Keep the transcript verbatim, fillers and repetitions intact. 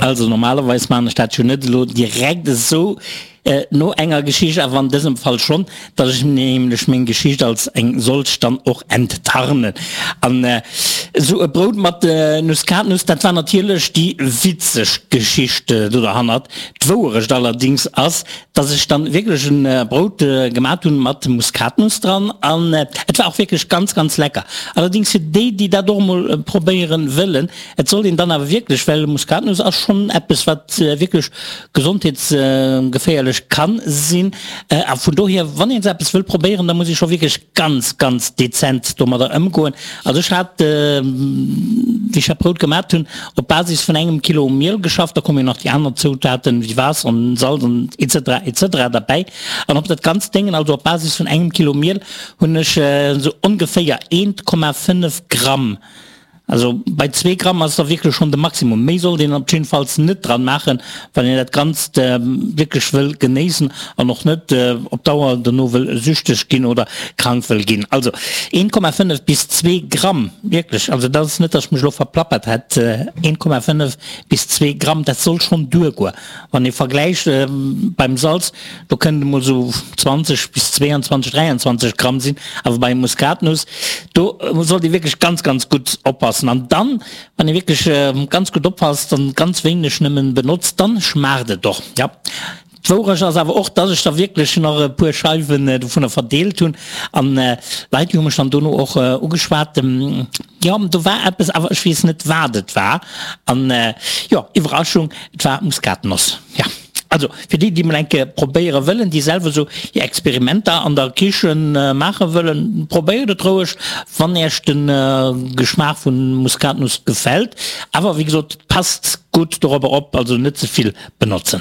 Also normalerweis maan ech dat jo net elo direkt esou no enger Geschicht, awer an dësem Fall schonn, dass ech nämlech meng Geschicht als eng solch dann och enttarnen. An esou e Brout mat Nuskatnuss, dat war natierlech déi witzeg Geschicht do derhannert. D'Wouerecht allerdings ass, dass ech dann wierklech e Brout gemat hunn mat Muskatnuss dran an et war och wierklech ganz ganz lecker. Allerdings fir déi, déi dat och emol probéieren wëllen, et sollt een dann awer wierklech, well Muskatnuss ass schonn eppes wat wierklech gesondheetsgeféierlech kann sinn, a vun dohier wann een eppes wëll probéieren, da muss ee scho wierklech ganz ganz dezent domadder ëmgoen. Also ech hat, wéi ech dat Brout gemat hunn, op Basis vun engem Kilo Miel geschafft, da komme jo nach déi aner Zoutaten wéi Waasser an Salz an etc etc derbäi, an op dat ganzt Déngen, also op Basis vun engem Kilo Miel, hunn ech esou ongeféier eent Komma fënnef Gramm, also bei zwee Gramm ass da wierklech schonn de Maximum, méi sollt een op jiddefalls net dran maachen, wann een dat Ganzt wierklech wëll genéissen an och net op Dauer dono wëll süchteg ginn oder krank wëll ginn. Also een Komma fënnef bis zwee Gramm, wierklech, also dat ass net, datt ech mech elo verplappert hätt, een Komma fënnef bis zwee Gramm, dat soll schonn duergoen. Wann ee vergläicht beim Salz, do kënnt emol esou zwanzeg bis zweeanzwanzeg, dräianzwanzeg Gramm sinn, awer bei Muskatnuss, do sollt ee wierklech ganz, ganz gutt oppassen. An dann, wann ee wierklech ganz gutt oppasst an ganz wéineg nëmmen benotzt, dann schmaacht et och. Jo, d'Wourecht ass awer och, dass ech der wierklech nach e puer Scheiwen dovunner verdeelt hunn an Leit, déi hu mech dann dono och ugeschwat, jo, do war eppes, awer ech weess net, wat et war. An jo, Iwwerraschung, et war Muskatnoss. Jo. Also fir déi, déi mol eng Kéier probéiere wëllen, déi selwer sou hir Experimenter an der Kichen maache wëllen, probéiert et roueg, wann Iech de Geschmaach vu Muskatnuss gefält. Awer wéi gesot, passt gutt dorobber op, also net ze vill benotzen.